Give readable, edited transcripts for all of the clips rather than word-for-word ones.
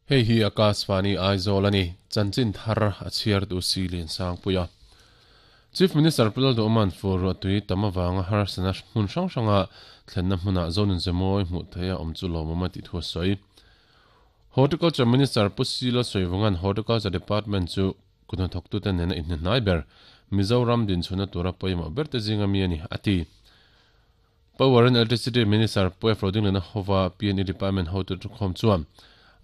Hei hi Akashvani Aizawl a ni, chanchin thar a chhiar duh si Liansangpuia. Chief Minister Pu Lalduhman fur ruahtui tam avanga harsatna hmun hrang hranga thlenna hmunah Zonun Zemawi hmuh theih a awm chu lawmawm a tih thu a sawi. Horticulture Minister Pu Silo Sawivanga'n Horticulture Department chu kuthnathawktute nena inhnehnai ber Mizoram dinchhuahna tura pawimawh berte zinga mi a ni, a ti. Power and Electricity Minister Pu F. Rodingliana hova PNE Department hotu thukhawm chuan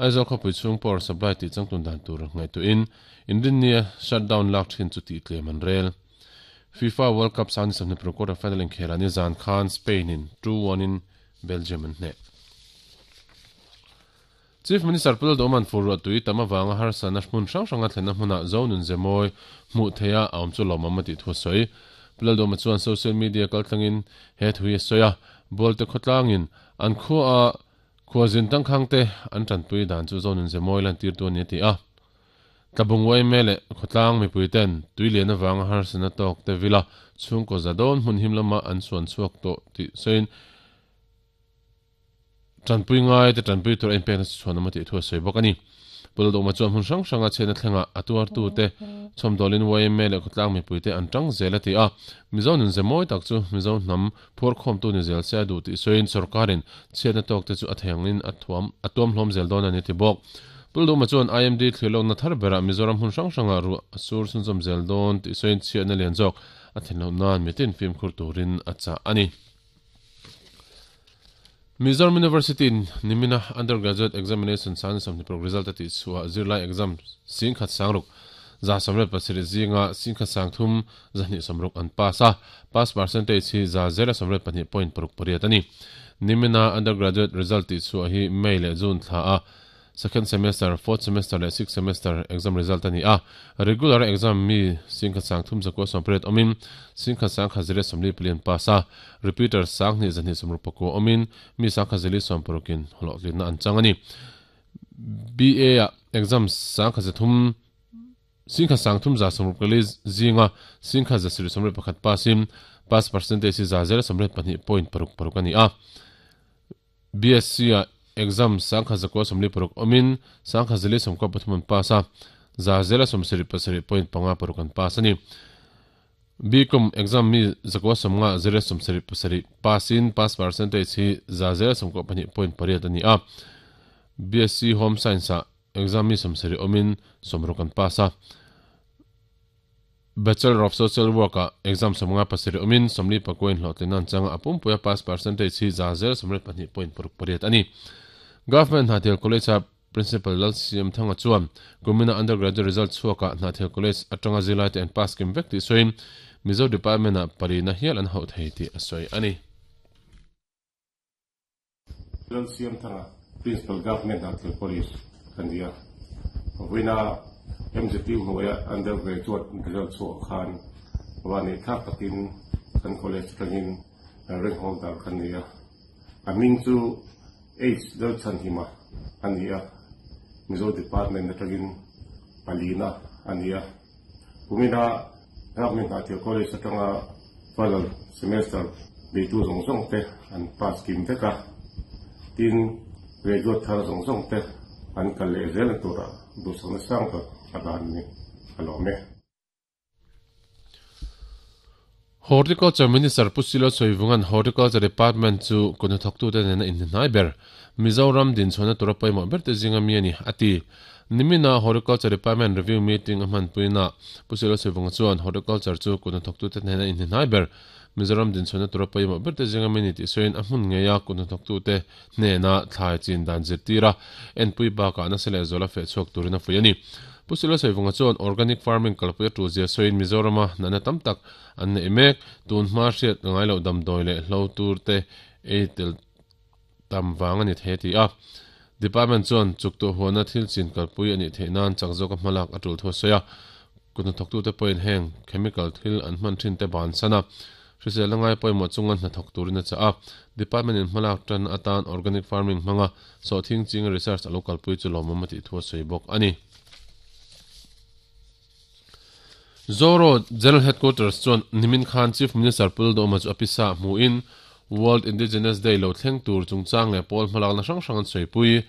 Aizawl khawpui chhung power supply tih changtun dan tur ngaihtuahin Inrinnia shutdown lak thin chu tih tlem an rel. FIFA World Cup sang ni 26 quarter final inkhelah nizan khan Spain in 2-1 in Belgium an hneh. Chief Minister Pu Lalduhman fur ruah tui tam avanga harsatna hmun hrang hranga thlenna hmunah Zo nun ze mawi hmuh theiha a awm chu lawmawm a tih thu a sawi. Pu Lalduhma chuan social media kaltlangin he thu hi a sawi a, Bualte khawtlangin an khua a khuazin tangkhangte an tanpui dan chu Zo nun ze mawi lantirtu a ni a ti a. Tlabung uaime leh khawtlang mipuiten tui lian avanga harsatna tawk te vila chhungkaw za dawn hmun him lama an suan chhuak tawh tih sawiin Tanpui ngai te tanpui tur a inpekna chu chhuanawm a tih thu a sawi bawk a ni. Pu Lalduhma chuan hmun hrang hranga chhiatna thlengah a tuartute chhawmdawlin yma leh khawtlang mipuite an tang zel a ti a. Mizo nun ze mawi tak chu Mizo hnam phuarkhawmtu ni zel se a duh tih sawiin sorkarin chhiatna tawkte chu a theiangin a thuam a tuam hlawm zel dawn a ni ti bawk. Pu Lalduhma chuan IMD thlirlawkna thar berah Mizoram hmun hrang hrangah ruah a sur chhunzawm zel dawn tih sawiin chhiatna lian zawk a thlen loh nan mitin fimkhur turin a chah a ni. Mizoram University in nimina Undergraduate Examination sang 26 result a tih chhuah zirlai exam singkhat sangruk 97 zinga singkhat sangthum 260 an pass a, pass percentage hi 182.68 a ni. Nimina Undergraduate result tih chhuah hi May leh June thla a Second semester, fourth semester leh sixth semester exam result a ni a. Regular exam mi singkhat sang thum zakua 80 awmin singkhat sang khat ziriat 44 an pass a. Repeater sang hnih 260 pakua awmin mi sang khat zili 60 in hlawhtlinna an chang a ni. BA ah exam sang khat zathum singkhat sang thum 164 zinga singkhat 771 pass in pass percentage hi 0.82.66 a ni a. BSc ah exam 1146 awmin 1093 an pass a, 0.76.56 an pass a ni. BCom exam mi 950 77 pass in pass percentage hi 0.92.8 a ni a. BSc Home Science ah exam mi 70 awmin 60 an pass a. Bachelor of Social Work ah exam 57 awmin 44 in hlawhtlinna an chang a, a pumpuia pass percentage hi 0.22.68 a ni. Government Hnathel College a Principal Lalsiamthanga chuan kumina undergraduate result chhuakah Hnathel College atanga zirlaite an pass kim vek tih sawiin Mizo Department ah palina hial an hauh thei tih a sawi a ni. Lalsiamthanga, Principal Government Hnathel College ka ni a. Vawiina MZU hnuaia undergraduate result chhuah khan vah neih thlak takin kan college atangin rank holder ka ni a. A hming chu H Lalchhanhima a ni a, Mizo Department atangin palina a ni a. Kumina Government Hnathel College atanga final semester beitu zawng zawng te an pass kim vek a, tin graduate thar zawng zawng te an kal leh zel turah duhsakna sang tak a dan ni a lawm e. Horticulture Minister Pu Silo Sawivunga'n Horticulture Department chu kut hnathawktute nena inhnehnai ber Mizoram dinchhuahna tura pawimawh berte zinga mi a ni, a ti. Nimina Horticulture Department Review Meeting a hmanpuina Pu Silo Sawivunga chuan Horticulture chu kut hnathawktute nena inhnehnai ber Mizoram dinchhuahna tura pawimawh berte zinga mi a ni tih sawiin a hmun ngeia kut hnathawktute hnena thlai chin dan zirtir a, enpui bakah nasa leh zuala feh chhuak turin a fuih a ni. Pu Silo Saivunga chuan organic farming kalpui a tul zia sawiin Mizorama natna tam tak an neih mek, tun hma hriat ngai loh damdawi leh hlo tur te ei tel tam vang a ni thei a ti a. Department chuan chuktuah huana thil chin kalpui a nih theih nan chak zawka hmalak a tul thu a sawi a. Kut hnathawktute pawhin heng chemical thil an hman thin te bansan a, hriselna ngai pawimawh chunga hnathawk turin a chah a. Department in hmalak tan atan organic farming hmanga sawhthing chinga research a lo kalpui chu lawmawm a tih thu a sawi bawk a ni. Zoro General Headquarters chuan nimin khan Chief Minister Pu Lalduhoma chu a pisa hmuhin World Indigenous Day lo thleng tur chungchang leh pawl hmalakna hrang hrang an sawipui.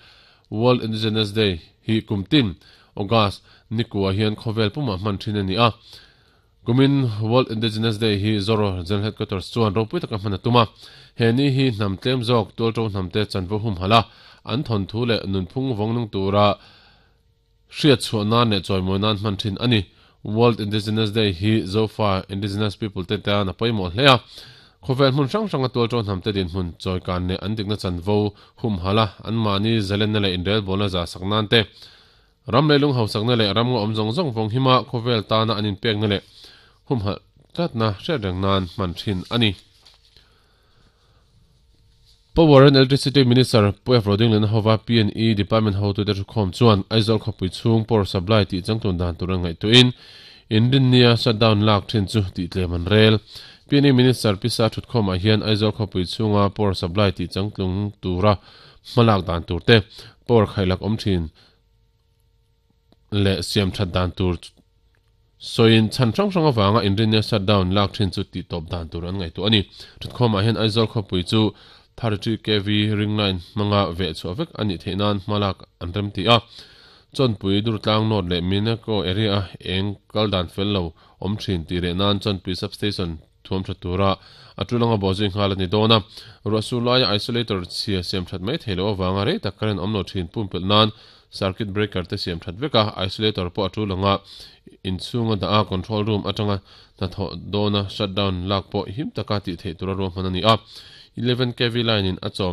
World Indigenous Day. hi kum tin August nikua hian khawvel pumah hman thin a ni a. Kumin World Indigenous Day hi Zoro General Headquarters chuan ropui taka hman a tum a. He ni hi hnam tlem zawk tualto hnamte chanvo humhalh a, an thawnthu leh nunphung vawng nung tura hriat chhuah nan leh chawimawi nan hman thin a ni. World Indigenous Day hi Zofa Indigenous People te tan a pawimawh hle a. Khawvel hmun hrang hranga tualto hnamte dinhmun chawikan leh an dikna chanvo humhalh a, anmahni zalenna leh inrelbawlna zah sak nan te, Ram leilung hausakna leh ram ngawh awm zawng zawng vawng hima khawvel tana an inpekna leh humhalh tlatna hriat reng nan hman thin a ni. Power and Electricity Minister Pu F. Rodingliana hova P&E Department hotute thukhawm chuan Aizawl khawpui chhung power supply tih changtlun dan tur an ngaihtuahin Inrinnia shutdown lak thin chu tih tlem an rel. P&E Minister Pisa thutkhawmah hian Aizawl khawpui chhunga power supply tih changtlung tura hmalak dan turte power khailak awm thin leh siam that dan tur sawiin chhan hrang hrang avanga inrinnia shutdown lak thin chu tih tawp dan tur an ngaihtuah a ni. Thutkhawmah hian Aizawl khawpui chu 33 kv ring line hmanga veh chhuah vek a nih theih nan hma lak an rem ti a. Chawnpui Durtlang North leh Minako area-a eng kal dan fel lo awm thin tih reh nan Chawnpui Substation thuam tha tura a tul anga bawhzui nghal a ni dawn a. Ruah sur laia isolator chhia siam that mai thei loh avanga rei tak current awm lo thin pumpelh nan circuit breaker te siam that vek a, isolator pawh a tul anga inchhunga dah a, control room atanga hnathawh dawna shutdown lak pawh him taka tih theih tura ruahman a ni a. 11 kv line in a chawm.